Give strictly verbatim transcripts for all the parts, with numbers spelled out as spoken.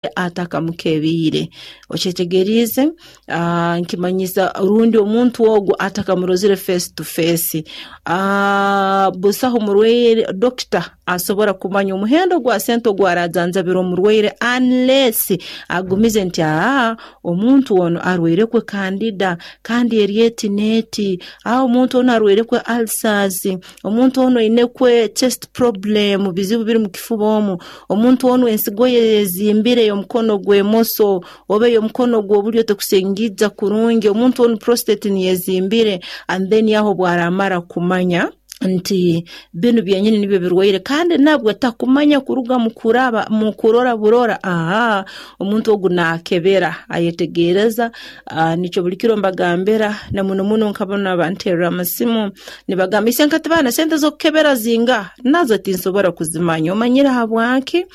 Atakamukebiire, okyetegeriize? uh, nkimanyisa rundi omuntu ogu atakamurozire face to face, uh, busaho murwaire, dokita asobora kumanya omuhendo gwa sente ogu arajanjabira omurwaire unless agumize nti aa, omuntu ono arwairekwe candida kandi eri eti n'eti, aa, omuntu onu arwairekwe ulcers, omuntu onu ainekwe chest problem, bizibu biri mu kifuba omu, omuntu onu ensigo ye ezimbire ey'omukono gw'emoso oba ey'omukono gw'obulyo tekusingija kurungi, omuntu onu prostate niyezimbire. And then aho bwaramara kumanya nti binu byenyini nibyo birwaire, kandi nabwo takumanya kuruga mu kuraba mu kurora burora. Aha, omuntu ogu naakebera, ayetegereza. uh, nikyo buli kiro mbagambira, na muno muno nkabona banterera amasimu nibagamba, "Ise nkatibaana, sente z'okukebera zinga?" Nazo tinsobora kuzimanya. Omanyire habwaki?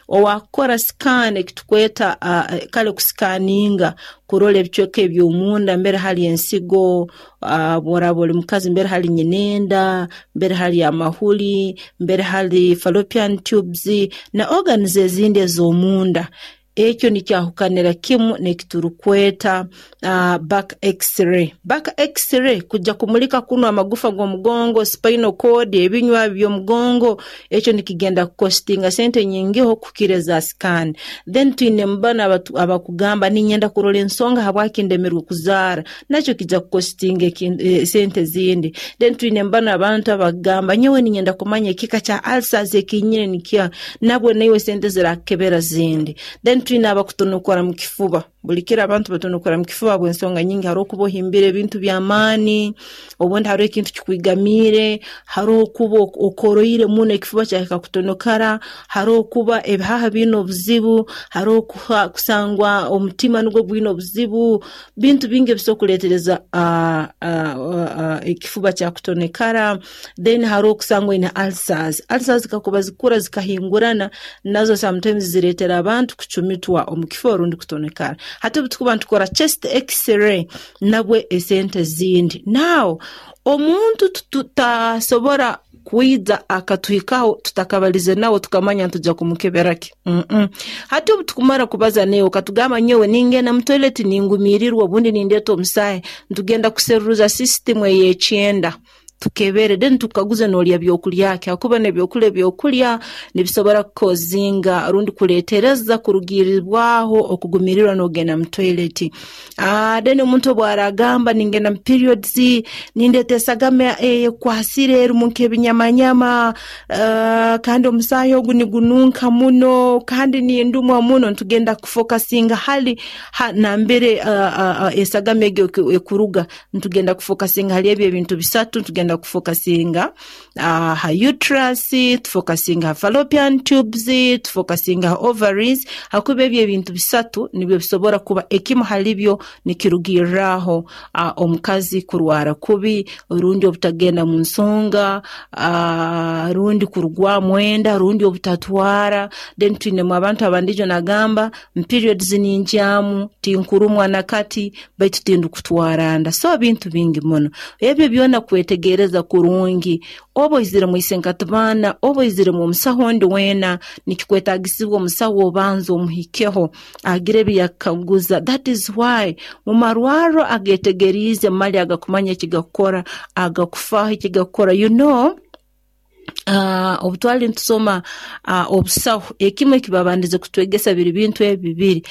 Owakukora scan, ekitukweta uh, kale kusikaninga kurora ebicweka eby'omunda, mbere hali ensigo, uh, bworaba oli mukazi, mbere hali nyinenda, mbere hali amahuli, mbere hali fallopian tubes na organs ezindi ez'omunda, ekyo nikyahukanira kimu nekiturukweta uh, back X-ray. Back X-ray kujja kumulika kuno amagufa g'omugongo, spinal cord, ebinywa by'omugongo, ekyo nikigenda kukostinga sente nyingiho kukira eza scan. Then twine mubano abakugamba, "Ninyenda kurora ensonga habwaki ndemerwe kuzaara." Nakyo kijja kukostinga e, sente zindi. Then twine mbano abantu abagamba, "Nyowe ninyenda kumanya ekika kya ulcers ekinyine nikya." Nabwe naiwe sente zirakebera zindi. Then twine abakutonokora mu kifuba. Buli kiro abantu batonokora mu kifuba bw'ensonga nyingi. Hariho okuba ohimbire ebintu by'amaani, obundi hariho ekintu kikwigamiire, hariho okuba okoroire muno ekifuba kyahika kutonokara, hariho okuba ebihaha biine obuzibu, hariho kusangwa omutima nugwo gwine obuzibu. Bintu bingi ebisobora kuleetereza uh, uh, uh, ekifuba kyakutonekara. Then hariho okusangwa oine ulcers. Ulcers kakuba zikura zikahingurana, nazo sometimes zireetera abantu kucumitwa omu kifuba rundi kutonekara. Hati obu tukuba nitukora chest X-ray, nabwe esente zindi. Now omuntu tutasobora kwija akatuhikaho tutakabalize nawe tukamanya ntujja kumukebera ki. mm -mm. Hati obu tukumara kubaza newe, okatugamba, "Nyowe ningenda mu toilet ningumirirwa, obundi nindeeta omusaahi," ntugenda kuseruruza system ey'ekyenda, tukebere. Then tukaguze, "Nolya byokulya ki?" Hakuba nebyokulya ebyokulya nibisobora kukozinga rundi kuletereza kurugirirwaho okugumirirwa nogenda mu toilet. uh, then omuntu obwaragamba, "Ningenda mu periods nindeta esagama ekwasire, erimu nk'ebinyamanyama, uh, kandi omusaahi ogu nigununka muno, kandi nindumwa muno," ntugenda kufokasinga hali ha, nambere uh, uh, uh, esagama egyo ekuruga. Ntugenda kufokasinga hali ebyo ebintu bisatu. Ntugenda kufokasinga uh, ha uterus, tufokasinga ha fallopian tubes, tufokasinga ha ovaries, hakuba ebyo ebintu bisatu nibyo bisobora kuba ekimu halibyo nikirugirraho uh, omukazi kurwara kubi, rundi obutagenda mu nsonga, uh, rundi kurugwamu enda, rundi obutatwara. Then twinemu abantu abandijo nagamba, "Periods ninjyamu, tinkurumwa nakati, baitu tindukutwara nda." So bintu bingi muno ebyo byona kwetegereza kurungi. Oba oizire mu isenkatibaana, oba oizire mu omusaho ondi weena, nikikwetagisibwa omusaho obanza omuhikeho, agire ebiyakaguza. That is why mu marwarro agetegeriize mali, agakumanya ekigakukora, agakufaho ekigakukora, you know Uh, obu twali nitusoma uh, obusaho, ekimu ekibabandize kutwegesa biri bintu ebi bibiri.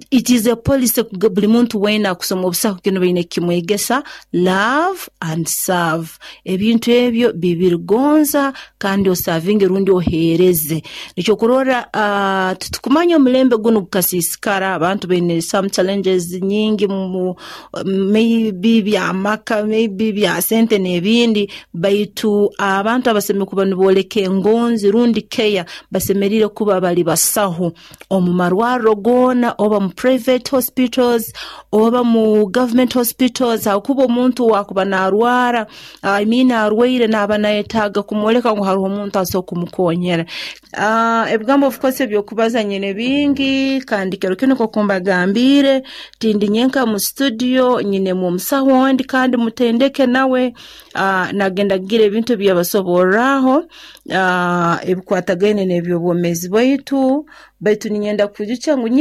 It is a policy, buli muntu weena akusoma obusaho kinu baine kukimwegesa: love and serve. Ebintu ebyo bibiri, gonza kandi osavinge rundi oheereze. Nikyo kurora uh, tutukumanya omulembe gunu gukasiisikara, abantu baine some challenges nyingi mu maybe byamaka, maybe bya sente n'ebindi, baitu abantu abasemeriire kuba nibooleka engonzi rundi care basemeriire kuba bali basaho omu marwarro goona oba Oba mu private hospitals oba mu government hospitals, hakuba omuntu wakuba narwara, I mean arwaire, naaba nayetaaga kumwoleka ngu haroho omuntu asobora kumukonyera. uh, ebigambo of course ebyokubaza nyine bingi, kandi kiro kinu nk'oku mbagambiire, tindi nyenka mu studio, nyinemu omusaho ondi kandi mutendeke nawe, uh, nagenda kugira ebintu ebyabasoborraho uh, ebikwatagaine n'ebyobwomeezi bwaitu. Baitu ninyenda kwijukya ngu nye